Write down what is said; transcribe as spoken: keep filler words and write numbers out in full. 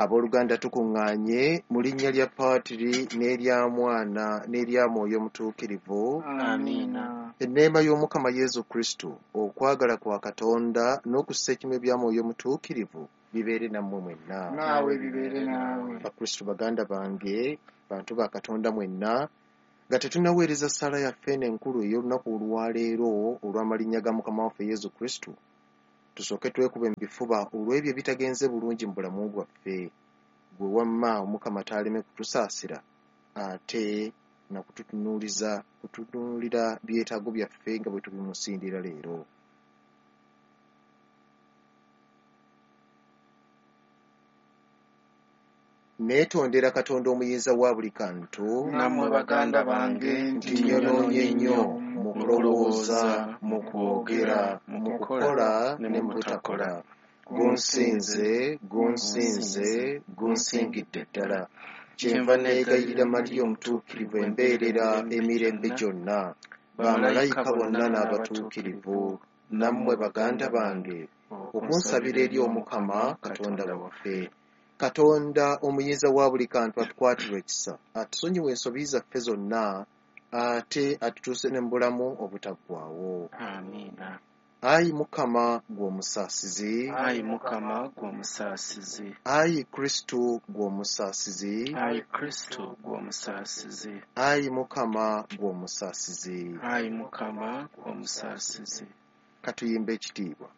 Abooluganda, tukuŋŋaanye mu linnya lya Paatiri n'erya Mwana n'erya Mwoyo Mutuukirivu. Amiina. Enneema y'Omukama Yesu Kristo, okwagala kwa Katonda n'okussa ekimu ebya Mwoyo Mutuukirivu bibeere nammwe mwenna. Naawe bibeere naawe. Bakristo baganda bange, bantu ba Katonda mwenna, nga tetunnaweereza ssaala yaffe eno enkulu ey'olunaku olwaleero olw'amalinnya ga Mukama waffe Yesu Kristo, tusooke twekube mu bifuba olw'ebyo ebitagenze bulungi mu bulamu bwaffe. Gwe wamma Omukama taaleme kutusaasira ate na kututunuuliza kututunuulira byetaago byaffe nga bwe tubimusindira leero. Neetondera Katonda omuyinza wa buli kantu, nammwe baganda bange, nti nnyonoonye nnyo mu kulowooza, mu kwogera, mu kukola ne mu butakola. Gunsinze, gunsinze, gunsingidde ddala. Kyenva neegayirira Mariya omutuukirivu embeerera emirembe gyonna, bamalayika bonna n'abatuukirivu, nammwe baganda bange, okunsabira eri Omukama Katonda waffe. Katonda omuyinza wa buli kantu atukwatirwe ekisa, atusonyiwe ensobi zaffe zonna, ate atutuuse ne mu bulamu obutaggwaawo. Amiina. Ayi Mukama ggwe omusaasizi, Ayi Mukama ggwe omusaasizi, Ayi Kristo ggwe omusaasizi, Ayi Kristo ggwe omusaasizi, Ayi Mukama ggwe omusaasizi. Ayi Mukama ggwe omusaasizi. Katuyimbe ekitiibwa.